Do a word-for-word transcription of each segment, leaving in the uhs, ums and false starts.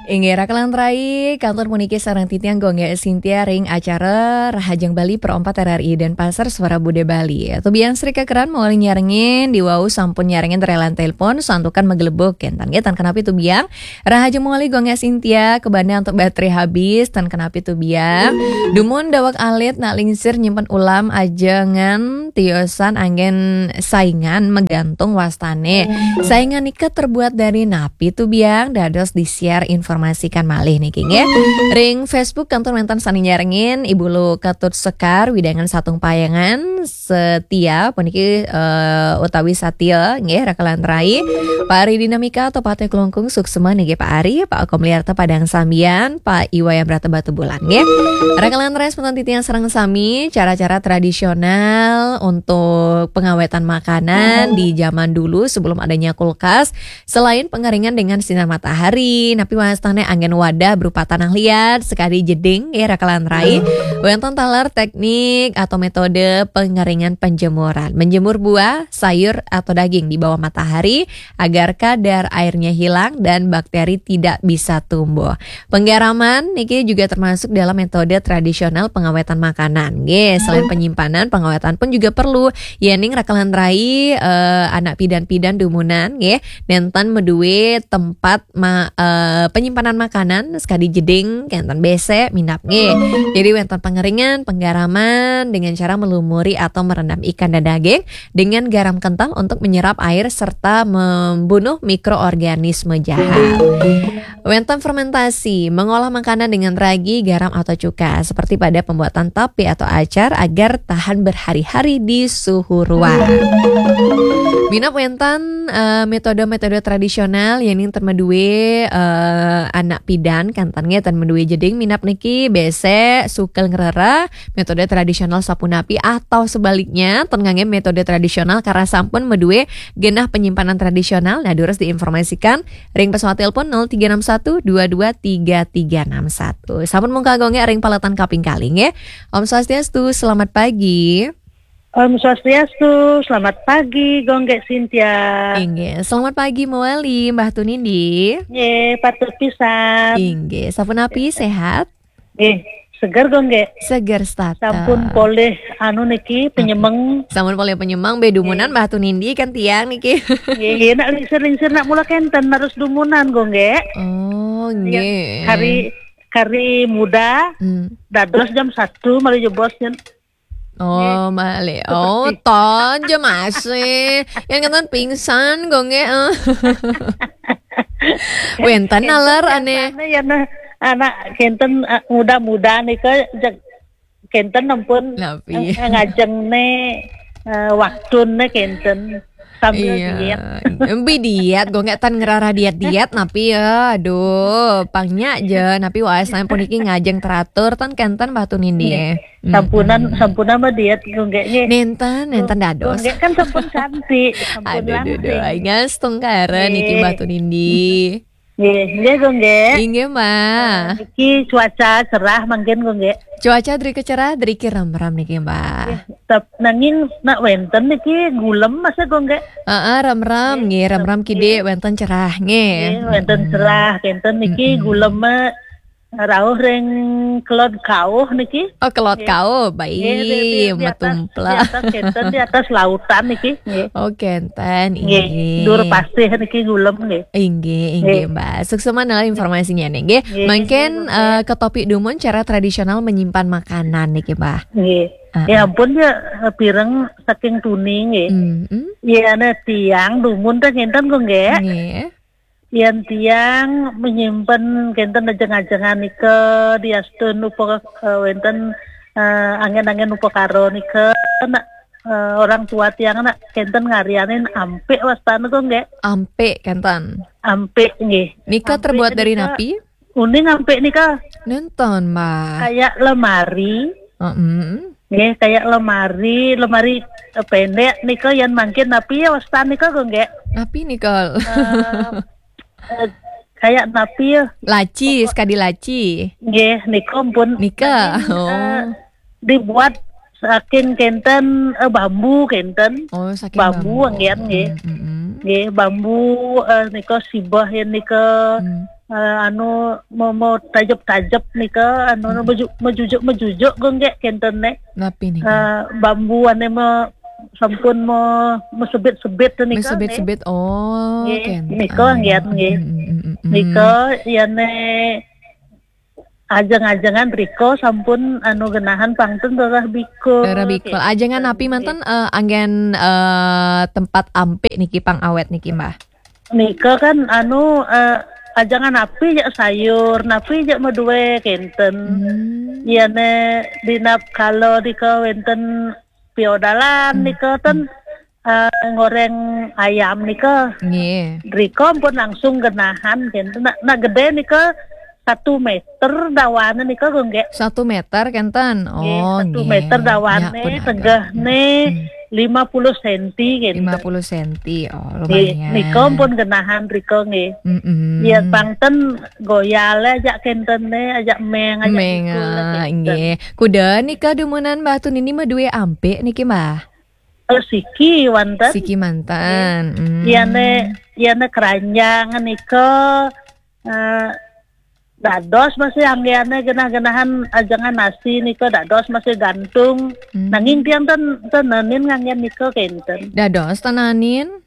Inggih, raka lan rai, kantun puniki sareng titiang Gung Gek Sintia ring acara Rahajeng Bali Pro empat R R I Denpasar Suara Budaya Bali. Tubiang Sri Kakeran mawali nyarengin, diwau sampun nyarengin relan telepon, santukan magelebug, kenten nggih, tan kenapi tubiang. Rahajeng mawali Gung Gek Sintia, kabanda antuk baterai habis, tan kenapi tubiang. Dumun daweg alit nak lingsir nyimpen ulam ajengan tiosan anggen saingan magantung wastane. Saingan nika terbuat dari napi tubiang? Dados di-share informasikan malih niki nggih. Ring Facebook kantun wenten sane nyarengin Ibu Lu Ketut Sekar, Widangan Satung Payangan, Setia puniki, eh, utawi Satya nggih, raka lan rai. Pak Ari Dinamika atau Pate Klungkung, suksma niki Pak Ari, Pak Akom Liarta Padang Sambian, Pak Iwayan Brata Batubulan nggih. Raka lan rai semeton titiang sareng sami, cara-cara tradisional untuk pengawetan makanan di zaman dulu sebelum adanya kulkas, selain pengeringan dengan sinar matahari, napi wastane anggen wadah berupa tanah liat, sekadi jeding, nggih, raka lan rai. Wenten taler teknik atau metode pengeringan penjemuran. Menjemur buah, sayur, atau daging di bawah matahari agar kadar airnya hilang dan bakteri tidak bisa tumbuh. Penggaraman niki juga termasuk dalam metode tradisional pengawetan makanan. Nggih, selain penyimpanan, pengawetan pun juga perlu. Yening raka lan rai, eh, anak pidan-pidan dumunan, nggih, nenten madue tempat ma-, eh, penyimpanan makanan, sekadi jeding, kenten besek, minab, nggih. Jadi wenten pengeringan, penggaraman dengan cara melumuri atau merendam ikan dan daging dengan garam kental untuk menyerap air serta membunuh mikroorganisme jahat. Wenten fermentasi, mengolah makanan dengan ragi, garam atau cuka, seperti pada pembuatan tape atau acar agar tahan berhari-hari di suhu ruang. Minab wenten, eh, metode-metode tradisional yening ten madue, eh, anak pidan, kenten nggih, ten madue jeding, minab niki besek sukel ngrereh metode tradisional sapunapi atau sebaliknya ten ngangge metode tradisional karena sampun madue genah penyimpanan tradisional. Nah, durus diinformasikan ring pesawat telepon nol tiga enam satu dua dua tiga tiga enam satu. Sampun mungkal Gung Gek ring paletan kaping kalih nggih. Om Swastiastu, selamat pagi. Om Swastiastu, selamat pagi, Gung Gek Sintia. Inggih, selamat pagi mawali, Mbah Tunindi. Nggih, patut pisan. Inggih, sapunapi, sehat? Nggih, seger, Gung Gek. Seger setata. Sampun polih anu niki, penyemeng. Sampun polih penyemeng, be dumunan, nggih, Mbah Tunindi kan tiang niki. Nggih, nggih, nak lingsir-lingsir nak mula kenten harus dumunan, Gung Gek. Oh, iya, nggih. Kari, kari muda, hmm, dados jam satu malih jebos jen. Oh, nggih, malih. Oh, seperti ton je masih. Yang kenten pingsan, Gung Gek, eh. Wenten naler ane. Kenten, ya, nah, anak kenten, eh, muda-muda nika, jeg-, kenten ampun, napi, eh, ngajeng ne, eh, waktune kenten. Sambil, iya, diet. Empi diet, Gung Gek, tan ngrereh diet-diet, napi ya, aduh, pang nya je, napi wae sampun niki ngajeng teratur, tan kenten Mbah Tunindi. Nggih. Mm-mm. Sampunan, sampunan mah diet, Gung Gek, nggih. Nenten, nenten dados. Gung Gek kan sampun cantik, sampun, aduh, aduh, aduh, langsing. Nggih, setungkara niki, nggih, Mbah Tunindi. Nggih, nggih, Gung Gek. Inggih, Mbah. Eh, niki cuaca cerah mangkin, Gung Gek. Cuaca driki cerah, driki remram niki, Mbah. Nggih, tep-, nanging nak wenten niki gulem masa, Gung Gek. Heeh, remram, nggih, nggih, remram kidik, nggih, wenten cerah, nggih. Nggih, wenten, mm-mm, cerah, kenten niki, mm-mm, gulem, eh, rauh ring kelod kauh niki. Oh, kelod, nggih, kauh, baik, nggih, di, di, di atas, metumplak, di atas kenten, di atas lautan niki, nggih. Oh, kenten, nggih, inggih. Dur pasih niki gulem, nggih. Inggih, inggih, nggih, Mbah. Suksma naler informasinya nih, nggih. Nggih, mangkin, nggih, eh, ke topik dumun cara tradisional menyimpan makanan niki, Mbah. Nggih. Heeh. Ya ampun ya, eh, pireng saking tuni, nggih. Mm-mm. Ya, nah, tiang dumun teh ngenten kok, nggih. Nggih. Yen tiang menyimpen kenten ajeng-ajengan nika diastun upa-, eh, wenten, eh, angin-angin upakara nika, nak, eh, orang tua tiang nak kenten ngarianin ampik wastane kok, nggih. Ampik kenten. Ampik, nggih. Nika ampik terbuat dari nika, napi? Uning ampik nika. Nenten, Mbah. Kayak lemari. Heeh. Nggih, kayak lemari, lemari, eh, pendek nika yen mangkin napi ya wastane nika, nggih. Napi nika? Eh, eh, kayak napi ya? Laci, pokok sekadi laci. Nggih, nika pun nika, mangkin, oh, eh, dibuat saking kenten, eh, bambu kenten. Oh, saking bambu, bambu. Anggen, nggih. Mm, mm, mm. Nggih, bambu, eh, nika sibah yen nika. Hmm. eh, anu mau, mau tajep-tajep nika, anu, hmm, meju-, mejujuk-mejujuk kok nggih kenten ne. Napi nika? Eh, bambu ane me-, sampun me-, mesebit-sebit nika nggih. Mesebit-sebit. Oh, nggih, kenten. Nika nggih, nggih. Hmm, hmm, hmm, hmm. Nika yane ajeng-ajengan rika sampun anu genahan pangten rerah bikul. Rerah bikul. Ajengan napi manten, eh, anggen, eh, tempat ampik niki pang awet niki, Mbah? Nika kan anu, eh, ajengan napi jak sayur, napi jak madue kenten. Hmm. Yane dinap kala nika wenten piodalan, hmm, nika ten, eh, ngoreng ayam nika. Nggih. Rika pun langsung genahan kenten. Nak, nak gede nika satu meter dawane nika kok nggih. Satu meter kenten. Nggih, oh, satu meter dawane, nya pun agak, tegehne, hmm, lima puluh senti kenten. Lima puluh senti. Oh, nggih, lumayan. Nika pun genahan rika nggih. Mm-mm. Ya, pangten goyale ajak kentene, ajak meng, ajak meng, bikul, ah, kenten. Nggih. Kuda nika dumunan Mbah Tunini madue ampik niki, Mbah? Eh, siki wanten. Siki manten. Nggih. Hmm. Yane, yane keranjang nika, eh, dados masih anggene genah-genahan ajengan nasi nika dados masih gantung. Hmm. Nanging tiang ten, ten nenin nganggen nika kenten. Dados ten nenin?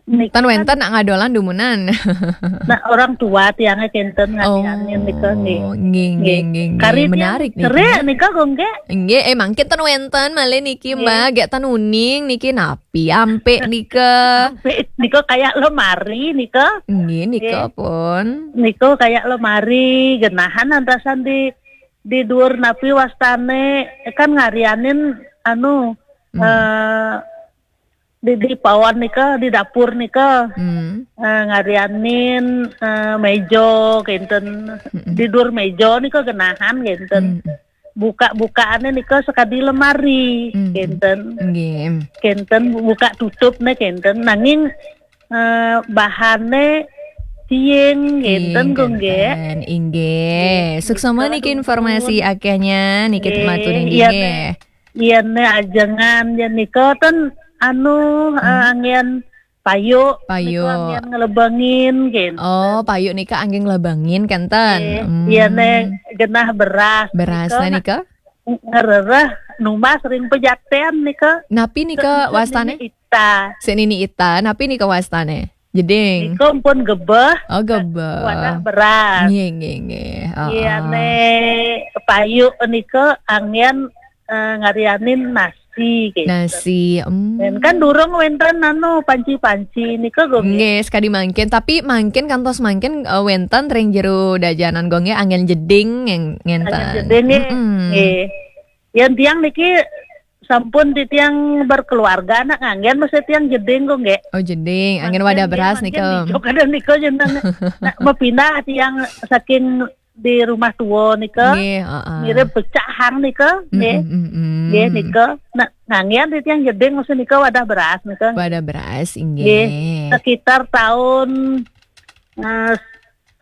Nika ten kan wenten nak ngadolan dumunan. Nah, orang tua tiangnya kenten ngadianin nika nggih. Oh, nggih, nggih, nggih, nggih. Kari tiang menarik nih, cerik nggih. Nika kok nggih. Nggih, eh, mangkin ten wenten malih niki, nggih, Mbah, gek ten uning niki napi ampik nika. Ampik nika kayak lemari nika. Nggih, nika pun. Nika kayak lemari genahan antasan di, di dhuwur napi wastane kan ngarianin anu, hmm, eh, di, di pawan nika, di dapur nika. Hmm. Eh, ngarianin, eh, meja kenten. Mm-mm. Di dhuwur meja nika genahan kenten. Hmm. Buka-bukaane nika sekadi lemari, hmm, kenten. Nggih. Kenten buka tutupne kenten. Nanging, eh, bahane tiing kenten kok nggih. Inggih. Nggih. Suksma niki informasi akehnya niki, nggih, matur inggih, iya, nggih. Yen ajengan yen nika ten anu, hmm, eh, anggen payuk, payuk nika anggen ngelebengin kenten. Oh, payuk nika anggen ngelebengin kenten. Nggih, hmm, yen genah beras. Beras nika, nika? Ngerereh numbas ring pejaten nika. Napi nika wastane? Nini Ita. Sik Nini Ita, napi nika wastane? Jeding. Nika pun gebeh. Oh, gebeh. Wadah beras. Nggih, nggih, nggih. Oh, iya, oh. Ne payuk nika anggen, eh, ngarianin nasi gitu. Nasi, hmm. Dan kan durung wenten anu panci-panci nika kok nggih. Nggih, sekadi mangkin, tapi mangkin kantos mangkin, eh, wenten ring jero dajanan kok nggih anggen jeding ngenten. Anggen jeding nggih. Mm-mm. Nggih. Yen tiang niki sampun titiang berkeluarga, nak nganggen mesti tiang jeding kok nggih. Oh, jeding. Anggen wadah beras nika. Mangkin nggih, mangkin nijo kada nika jeneng. Nak mapindah tiang saking di rumah tua nika. Nggih, heeh. Mirip pecahang nika, nggih. Mm, mm, mm, mm. Nggih, nika. Nak nganggen titiang jeding mesti nika wadah beras nika. Wadah beras, inggih. Nggih. Sekitar tahun, eh,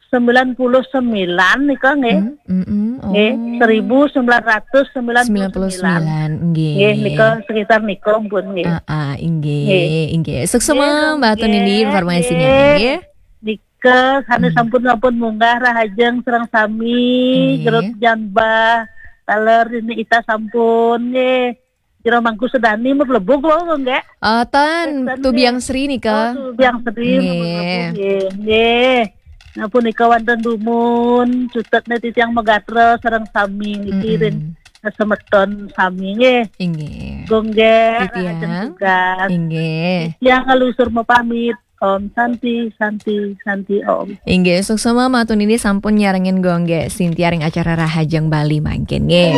sembilan puluh sembilan nika nggih. Hmm, mm, mm, nggih, oh. Seribu sembilan ratus sembilan puluh sembilan. Sembilan puluh sembilan, nggih. Nggih, nika sekitar nika pun nggih. Ah, ah, inggih, nggih. Inggih. Suksma, nggih, Mbah Tunini, informasinya, nggih. Nggih. Nika, sane, hmm, sampun, sampun munggah rahajeng sareng sami, nggih. Gerut Jan Bah, taler ini ita sampun nggih. Jero Mangku Sedani mlebu kula nggih. Ah, tan, eh, tan tubiang nggih. Sri nika. Oh, tubiang Sri, nggih. Mlebu nggih. Nggih. Nah, punika wonten dumun, cutetne titiang megatra sareng sami niki, mm-mm, ring semeton sami nggih. Inggih. Nggih, titiang. Rahajeng tugas. Inggih. Titiang ngelusur mapamit. Om Santi, Santi, Santi Om. Inggih, suksma matur nini sampun nyarengin Gung Gek Sintia ring acara Rahajeng Bali mangkin nggih.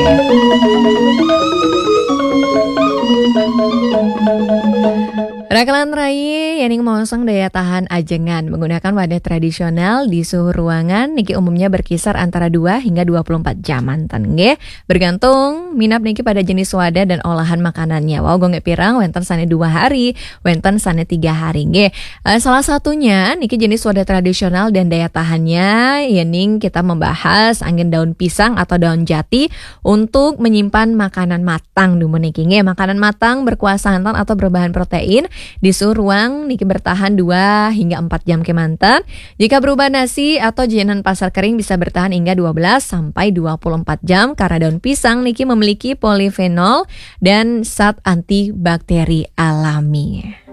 Rakalan rai, yening maosang daya tahan ajengan menggunakan wadah tradisional di suhu ruangan niki umumnya berkisar antara dua hingga dua puluh empat jam manten nggih. Bergantung minab niki pada jenis wadah dan olahan makanannya. Wau, Gung Gek Pirang wenten sane dua hari, wenten sane tiga hari nggih. Eh, salah satunya niki jenis wadah tradisional dan daya tahannya, yening kita membahas angin daun pisang atau daun jati untuk menyimpan makanan matang dumun niki nggih. Makanan matang berkuah santan atau berbahan protein Di suhu ruang niki bertahan dua hingga empat jam kemanten. Jika berupa nasi atau jajanan pasar kering bisa bertahan hingga dua belas sampai dua puluh empat jam karena daun pisang niki memiliki polifenol dan zat antibakteri alami.